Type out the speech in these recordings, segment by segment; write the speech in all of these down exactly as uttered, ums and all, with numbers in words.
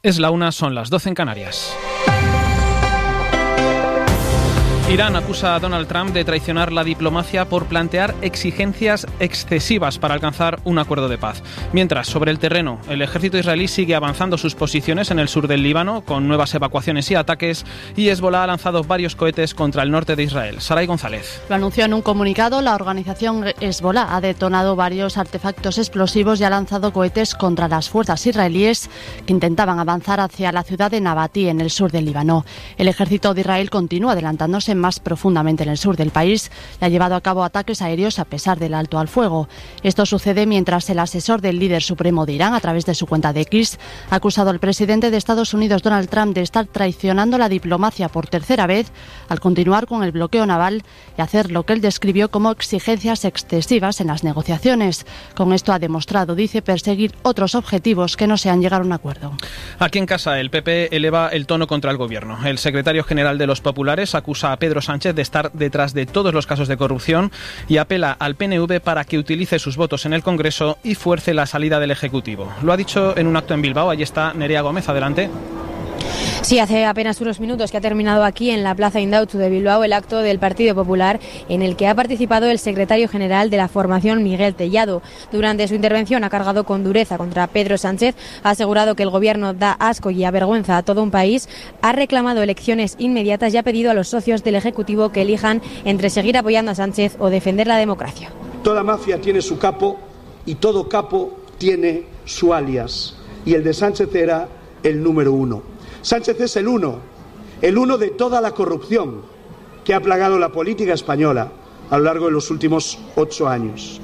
Es la una, son las doce en Canarias. Irán acusa a Donald Trump de traicionar la diplomacia por plantear exigencias excesivas para alcanzar un acuerdo de paz. Mientras, sobre el terreno, el ejército israelí sigue avanzando sus posiciones en el sur del Líbano, con nuevas evacuaciones y ataques, y Hezbollah ha lanzado varios cohetes contra el norte de Israel. Saray González. Lo anunció en un comunicado. La organización Hezbollah ha detonado varios artefactos explosivos y ha lanzado cohetes contra las fuerzas israelíes que intentaban avanzar hacia la ciudad de Nabatí, en el sur del Líbano. El ejército de Israel continúa adelantándose más profundamente en el sur del país y ha llevado a cabo ataques aéreos a pesar del alto al fuego. Esto sucede mientras el asesor del líder supremo de Irán, a través de su cuenta de X, ha acusado al presidente de Estados Unidos, Donald Trump, de estar traicionando la diplomacia por tercera vez al continuar con el bloqueo naval y hacer lo que él describió como exigencias excesivas en las negociaciones. Con esto ha demostrado, dice, perseguir otros objetivos que no sean llegar a un acuerdo. Aquí en casa, el P P eleva el tono contra el gobierno. El secretario general de los populares acusa a Pedro Sánchez de estar detrás de todos los casos de corrupción y apela al P N V para que utilice sus votos en el Congreso y fuerce la salida del Ejecutivo. Lo ha dicho en un acto en Bilbao. Allí está Nerea Gómez. Adelante. Sí, hace apenas unos minutos que ha terminado aquí en la Plaza Indautxu de Bilbao el acto del Partido Popular, en el que ha participado el secretario general de la formación, Miguel Tellado. Durante su intervención ha cargado con dureza contra Pedro Sánchez, ha asegurado que el gobierno da asco y avergüenza a todo un país, ha reclamado elecciones inmediatas y ha pedido a los socios del Ejecutivo que elijan entre seguir apoyando a Sánchez o defender la democracia. Toda mafia tiene su capo y todo capo tiene su alias, y el de Sánchez era el número uno. Sánchez es el uno, el uno de toda la corrupción que ha plagado la política española a lo largo de los últimos ocho años.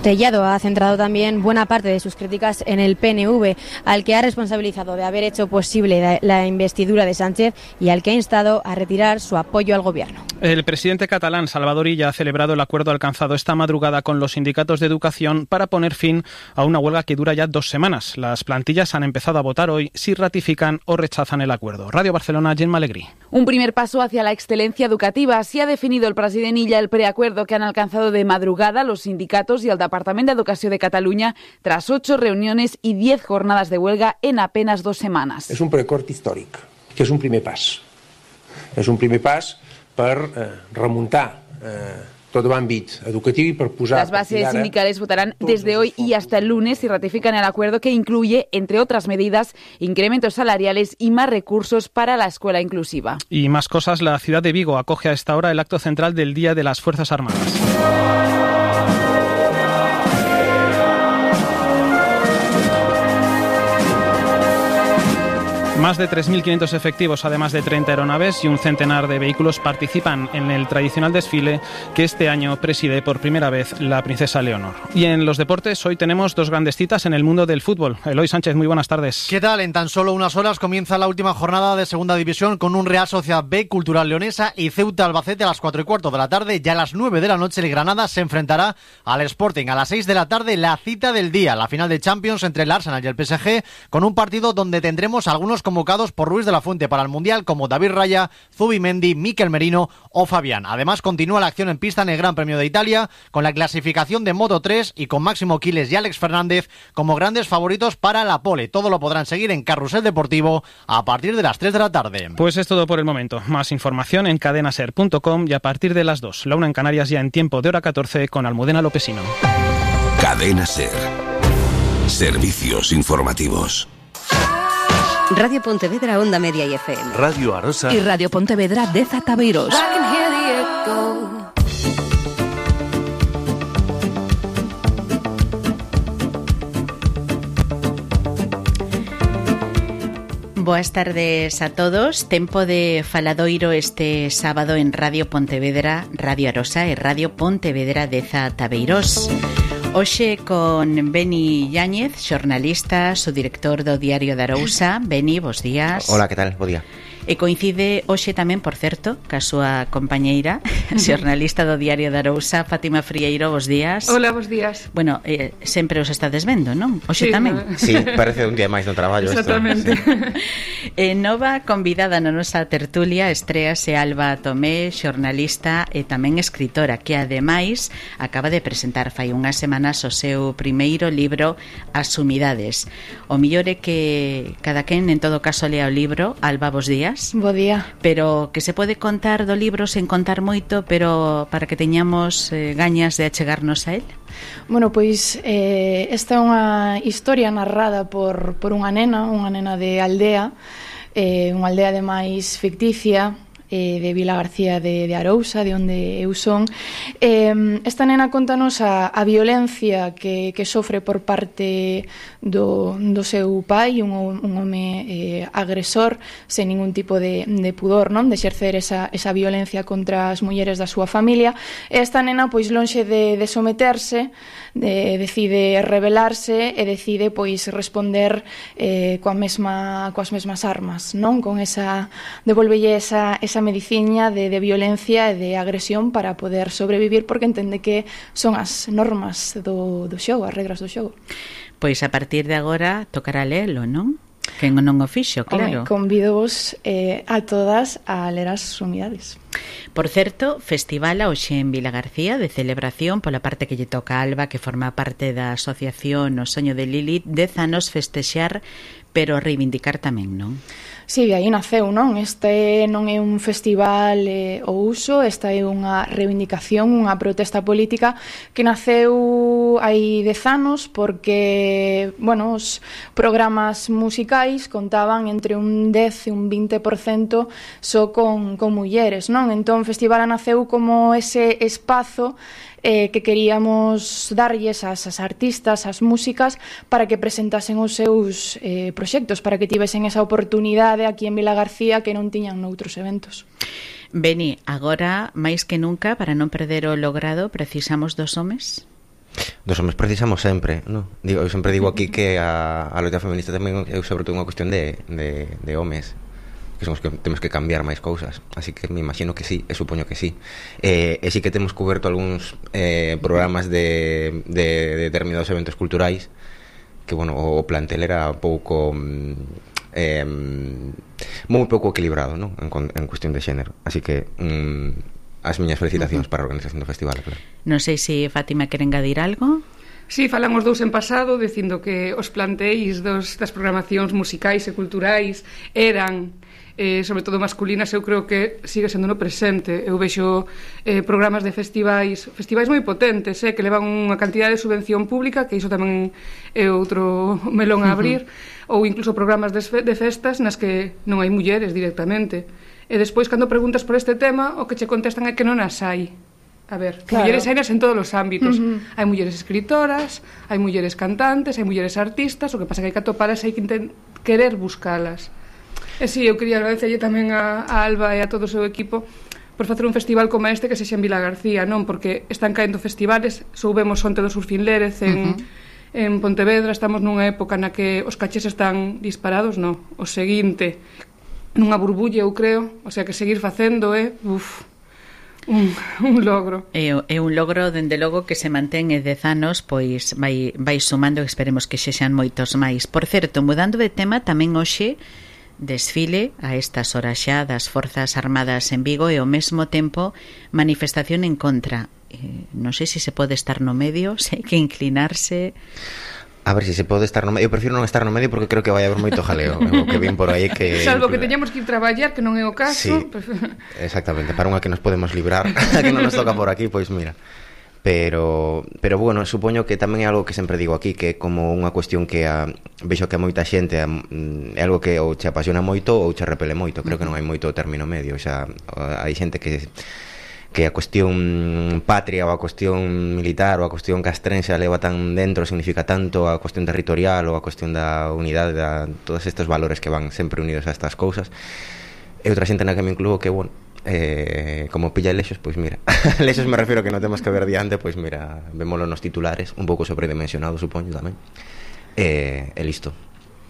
Tellado ha centrado también buena parte de sus críticas en el P N V, al que ha responsabilizado de haber hecho posible la investidura de Sánchez y al que ha instado a retirar su apoyo al gobierno. El presidente catalán, Salvador Illa, ha celebrado el acuerdo alcanzado esta madrugada con los sindicatos de educación para poner fin a una huelga que dura ya dos semanas. Las plantillas han empezado a votar hoy si ratifican o rechazan el acuerdo. Radio Barcelona, Gemma Alegrí. Un primer paso hacia la excelencia educativa. Así ha definido el president Illa el preacuerdo que han alcanzado de madrugada los sindicatos y el Departament d'Educació de Cataluña tras ocho reuniones y diez jornadas de huelga en apenas dos semanas. És un preacord històric, que és un primer pas. És un primer pas per eh, remuntar eh, tot l'àmbit educatiu y per posar... Las bases sindicales votarán desde hoy y hasta el lunes y ratifican el acuerdo que incluye, entre otras medidas, incrementos salariales y más recursos para la escuela inclusiva. Y más cosas, la ciudad de Vigo acoge a esta hora el acto central del Día de las Fuerzas Armadas. Más de tres mil quinientos efectivos, además de treinta aeronaves y un centenar de vehículos, participan en el tradicional desfile que este año preside por primera vez la princesa Leonor. Y en los deportes, hoy tenemos dos grandes citas en el mundo del fútbol. Eloy Sánchez, muy buenas tardes. ¿Qué tal? En tan solo unas horas comienza la última jornada de Segunda División con un Real Sociedad B, Cultural Leonesa y Ceuta Albacete a las cuatro y cuarto de la tarde. Ya a las nueve de la noche el Granada se enfrentará al Sporting. A las seis de la tarde la cita del día, la final de Champions entre el Arsenal y el P S G, con un partido donde tendremos algunos convocados por Ruiz de la Fuente para el Mundial, como David Raya, Zubimendi, Mikel Merino o Fabián. Además, continúa la acción en pista en el Gran Premio de Italia, con la clasificación de Moto tres y con Máximo Quiles y Alex Fernández como grandes favoritos para la pole. Todo lo podrán seguir en Carrusel Deportivo a partir de las tres de la tarde. Pues es todo por el momento. Más información en cadenaser punto com y a partir de las dos. La una en Canarias, ya en tiempo de hora catorce con Almudena Lopesino. Cadena Ser. Servicios informativos. Radio Pontevedra, Onda Media y F M. Radio Arosa. Y Radio Pontevedra de Zataveiros. Boas tardes a todos. Tempo de faladoiro este sábado en Radio Pontevedra, Radio Arosa e Radio Pontevedra de Zataveiros. Hoxe con Beni Yáñez, xornalista, subdirector do Diario de Arousa. Beni, bos días. Hola, que tal? Bo día. E coincide hoxe tamén, por certo, ca súa compañeira, xornalista do Diario de Arousa, Fátima Frieiro, bos días. Hola, bos días. Bueno, eh, sempre os estades vendo, non? Hoxe sí, tamén. Sí, parece un día máis no traballo. Exactamente. Esto, sí. eh, nova convidada na nosa tertulia estréase Alba Tomé, xornalista e tamén escritora, que ademais acaba de presentar fai unhas semanas o seu primeiro libro, As Sumidades. O millor é que cada quen en todo caso lea o libro. Alba, bos días. Bo día. Pero que se pode contar do libro sen contar moito, pero para que teñamos eh, gañas de achegarnos a él? Bueno, pois eh, esta é unha historia narrada por, por unha nena, unha nena de aldea, eh, unha aldea ademais ficticia, de Vila García de, de Arousa, de onde eu son. Eh, esta nena contanos a, a violencia que, que sofre por parte do, do seu pai, un, un home eh, agresor, sen ningún tipo de, de pudor, non? De exercer esa, esa violencia contra as mulleres da súa familia. E esta nena, pois, lonxe de, de someterse, de, decide rebelarse e decide, pois, responder eh, coa mesma, coas mesmas armas, non? Con esa, devolvelle esa, esa mediciña de, de violencia e de agresión para poder sobrevivir, porque entende que son as normas do, do xogo, as regras do xogo. Pois a partir de agora tocará lelo, non? Que non o fixo, claro. Home, convido-vos eh, a todas a ler As Sumidades. Por certo, festival hoxe en Vila García de celebración pola parte que lle toca a Alba, que forma parte da asociación O Soño de Lilith, dez anos festexar, pero reivindicar tamén, non? Si, de aí naceu, non? Este non é un festival eh, o uso, esta é unha reivindicación, unha protesta política que naceu hai dez anos porque, bueno, os programas musicais contaban entre un dez e un vinte por cento só con, con mulleres, non? Entón, o festival naceu como ese espazo Eh, que queríamos darlles as, as artistas, as músicas, para que presentasen os seus eh, proxectos, para que tivesen esa oportunidade aquí en Vila García que non tiñan noutros eventos. Beni, agora, máis que nunca, para non perder o logrado, precisamos dos homes? Dos homes precisamos sempre, no? Digo, eu sempre digo aquí que a, a loita feminista tamén é sobre todo unha cuestión de, de, de homes, que somos que temos que cambiar máis cousas, así que me imagino que sí, e supoño que sí. Eh, e sí que temos coberto algúns eh, programas de, de, de determinados eventos culturais que, bueno, o plantel era pouco eh, moi pouco equilibrado, non? En, en cuestión de xénero, así que mm, as miñas felicitacións uh-huh. para a organización do festival, claro. Non sei se Fátima quere engadir algo. Sí, falamos dous en pasado dicindo que os planteis dos, das programacións musicais e culturais eran eh, sobre todo masculinas. Eu creo que sigue sendo no presente. Eu vexo eh, programas de festivais festivais moi potentes, eh, que levan unha cantidade de subvención pública, que iso tamén é outro melón a abrir, uh-huh. ou incluso programas de, de festas nas que non hai mulleres directamente, e despois cando preguntas por este tema o que che contestan é que non as hai. A ver, claro. Mulleres hainas en todos os ámbitos. Uh-huh. Hai mulleres escritoras, hai mulleres cantantes, hai mulleres artistas, o que pasa que hai que atopalas, hai que intent- querer buscalas. E si, eu quería agradecerlle tamén a, a Alba e a todo o seu equipo por facer un festival como este que sexa en Vila García, non? Porque están caendo festivales, soubemos onte do Surfín Lérez en, uh-huh. en Pontevedra, estamos nunha época na que os cachés están disparados, non? O seguinte, nunha burbulla, eu creo, o sea que seguir facendo é, uf, un, un logro. É, é un logro, dende logo, que se mantén e dez anos, pois vai, vai sumando, esperemos que xexan moitos máis. Por certo, mudando de tema, tamén hoxe desfile a estas horas xa das Forzas Armadas en Vigo e ao mesmo tempo manifestación en contra. Eh, non sei se se pode estar no medio, se hai que inclinarse. A ver se si se pode estar no medio. Eu prefiro non estar no medio porque creo que vai haber moito jaleo. O que ven por aí que salvo que teñamos que ir traballar, que non é o caso. Sí, exactamente, para unha que nos podemos librar, a que non nos toca por aquí, pois mira. Pero, pero bueno, supoño que tamén é algo que sempre digo aquí, que é como unha cuestión que a, vexo que a moita xente a, é algo que ou che apasiona moito ou che repele moito. Creo que non hai moito término medio. O sea, hai xente que que a cuestión patria ou a cuestión militar ou a cuestión castrense a leva tan dentro, significa tanto a cuestión territorial ou a cuestión da unidade, da, todos estes valores que van sempre unidos a estas cousas. E outra xente na que me incluo que, bueno, eh, como pilla lexos, pois mira, lexos me refiero que non temos que ver diante, pois mira, vémolo nos titulares, un pouco sobredimensionado, supoño tamén, e, e listo.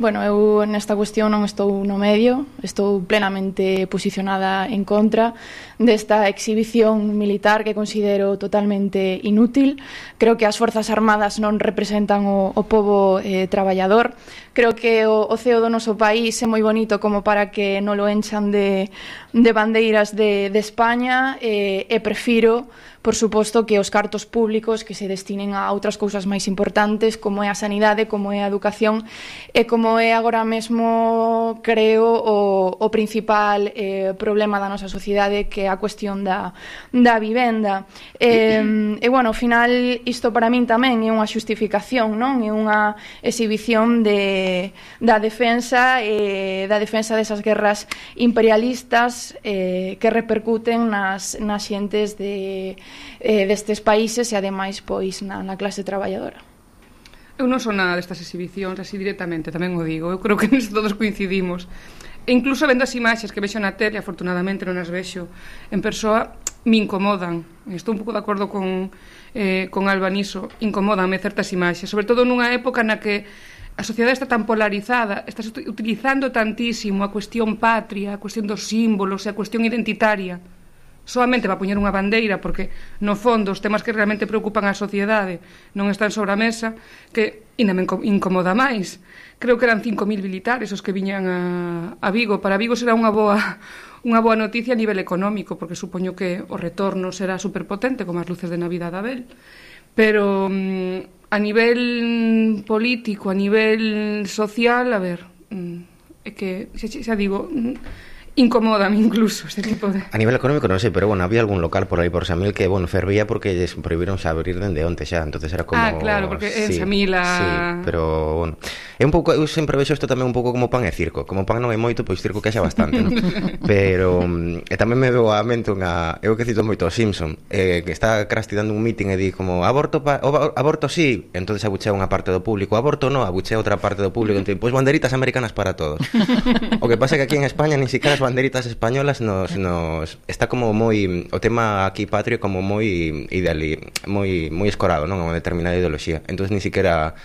Bueno, eu nesta cuestión non estou no medio, estou plenamente posicionada en contra desta exhibición militar que considero totalmente inútil. Creo que as Forzas Armadas non representan o, o pobo eh, traballador. Creo que o, o ceo do noso país é moi bonito como para que non lo enchan de, de bandeiras de, de España eh, e prefiro, por suposto, que os cartos públicos que se destinen a outras cousas máis importantes como é a sanidade, como é a educación e como é agora mesmo, creo, o, o principal eh, problema da nosa sociedade, que é a cuestión da, da vivenda. E, e, bueno, ao final, isto para min tamén é unha xustificación, non? É unha exhibición de, da defensa e da defensa desas guerras imperialistas eh, que repercuten nas, nas xentes de, eh, destes países e, ademais, pois, na, na clase traballadora. Eu non son nada destas exhibicións, así directamente, tamén o digo. Eu creo que nisto todos coincidimos. E incluso vendo as imaxes que vexo na tele, afortunadamente non as vexo en persoa, me incomodan. Estou un pouco de acordo con, eh, con Alba niso. Incomodanme certas imaxes, sobre todo nunha época na que a sociedade está tan polarizada, estás utilizando tantísimo a cuestión patria, a cuestión dos símbolos e a cuestión identitaria solamente para poñer unha bandeira, porque no fondo os temas que realmente preocupan a sociedade non están sobre a mesa, que ainda me incomoda máis. Creo que eran cinco mil militares os que viñan a, a Vigo. Para Vigo será unha boa unha boa noticia a nivel económico, porque supoño que o retorno será superpotente, como as luces de Navidad de Abel. Pero a nivel político, a nivel social, a ver, é que, xa, xa digo, incomódame incluso este tipo de... A nivel económico non sei, pero bueno, había algún local por aí por Samil que, bueno, fervía porque lles prohibiron xa abrir dende onte xa, entonces era como... Ah, claro, porque en sí, Samil a... Sí, pero, bueno, é un pouco, eu sempre vexo isto tamén un pouco como pan e circo, como pan non é moito, pois circo que xa bastante, non? Pero, e tamén me veo a mente unha, eu que cito moito o Simpson, eh, que está Krusty dando un meeting e di como, aborto, pa, o, aborto sí, entonces abuchea unha parte do público, aborto no, abuchea outra parte do público, entón, pois banderitas americanas para todos. O que pasa é que aquí en España ni siquiera banderitas españolas nos, nos está como moi o tema aquí patrio como moi ideali, moi moi escorado, non, a unha determinada ideoloxía. Entonces ni siquiera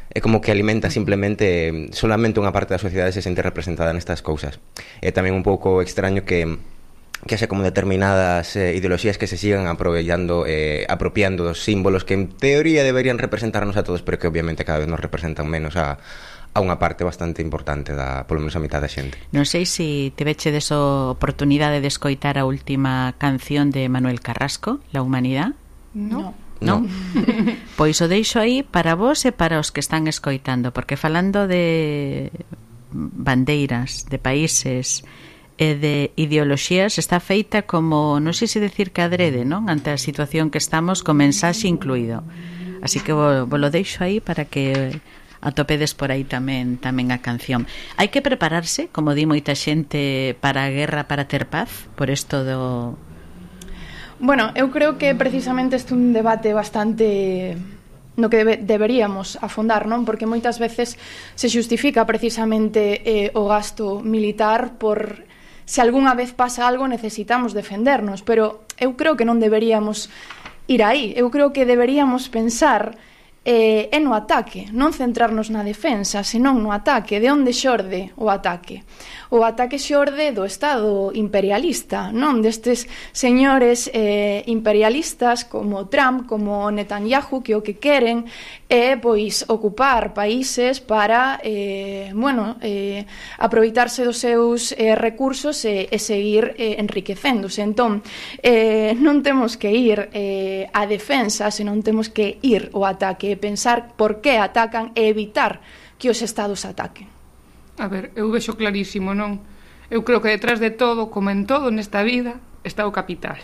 é como que alimenta simplemente solamente unha parte da sociedade se sente representada nestas cousas. É tamén un pouco extraño que que haxa como determinadas eh, ideoloxías que se sigan aprovellando, eh, apropiando dos símbolos que en teoría deberían representarnos a todos, pero que obviamente cada vez nos representan menos a a unha parte bastante importante da, polo menos a mitad da xente. Non sei se te veche deso oportunidade de escoitar a última canción de Manuel Carrasco, La Humanidad? No. No? Pois o deixo aí para vos e para os que están escoitando, porque falando de bandeiras, de países e de ideoloxías, está feita como, non sei se decir que adrede, non? Ante a situación que estamos, con mensaxe incluído. Así que vos, vos lo deixo aí para que atopedes por aí tamén tamén a canción. Hai que prepararse, como di moita xente, para a guerra para ter paz, por isto do... Bueno, eu creo que precisamente este é un debate bastante no que debe, deberíamos afondar, non? Porque moitas veces se xustifica precisamente eh, o gasto militar por se algunha vez pasa algo necesitamos defendernos, pero eu creo que non deberíamos ir aí. Eu creo que deberíamos pensar eh, é no ataque, non centrarnos na defensa, senón no ataque. De onde xorde o ataque? O ataque xorde do Estado imperialista, non destes señores eh, imperialistas como Trump, como Netanyahu, que o que queren é pois ocupar países para eh, bueno, eh, aproveitarse dos seus eh, recursos e, e seguir eh, enriquecéndose. Entón, eh, non temos que ir eh, á defensa, senón temos que ir ao ataque e pensar por que atacan e evitar que os estados ataquen. A ver, eu vexo clarísimo, non? Eu creo que detrás de todo, como en todo nesta vida, está o capital.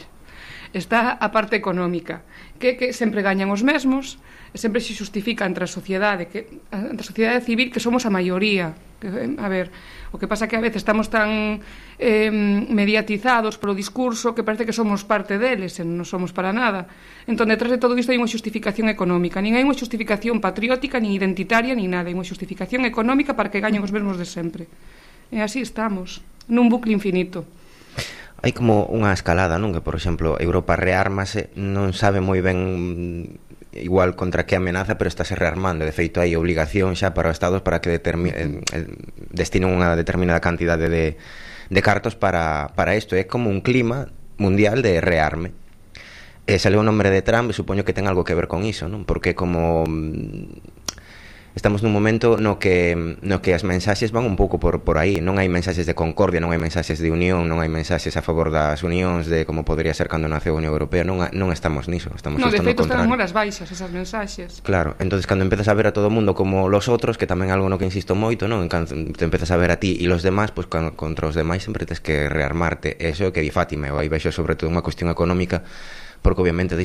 Está a parte económica, que, que sempre gañan os mesmos, e sempre se justifica entre a sociedade, que, entre a sociedade civil, que somos a maioría. Que, a ver, o que pasa que a veces estamos tan eh, mediatizados polo discurso que parece que somos parte deles, e non somos para nada. Entón, detrás de todo isto hai unha justificación económica. Nin hai unha justificación patriótica, nin identitaria, nin nada. Hai unha justificación económica para que gañen os mesmos de sempre. E así estamos, nun bucle infinito. Hai como unha escalada, non? Que, por exemplo, Europa reármase, non sabe moi ben igual contra que amenaza, pero estáse rearmando. De feito, hai obligación xa para os estados para que determi- eh, eh, destinen unha determinada cantidade de, de cartos para, para isto. É como un clima mundial de rearme. E saliu o nombre de Trump, e supoño que ten algo que ver con iso, non? Porque como estamos nun momento no que no que as mensaxes van un pouco por por aí, non hai mensaxes de concordia, non hai mensaxes de unión, non hai mensaxes a favor das unións de como podría ser cando nace a Unión Europea, non non estamos niso, estamos no, justo no contrario. No, de feito están horas baixas esas mensaxes. Claro, entonces cando empezas a ver a todo o mundo como los outros, que tamén é algo no que insisto moito, non? Te empezas a ver a ti e los demás, pois pues, contra os demais sempre tens que rearmarte. Eso é o que di Fátima, eu aí vexo sobre todo unha cuestión económica, porque obviamente disto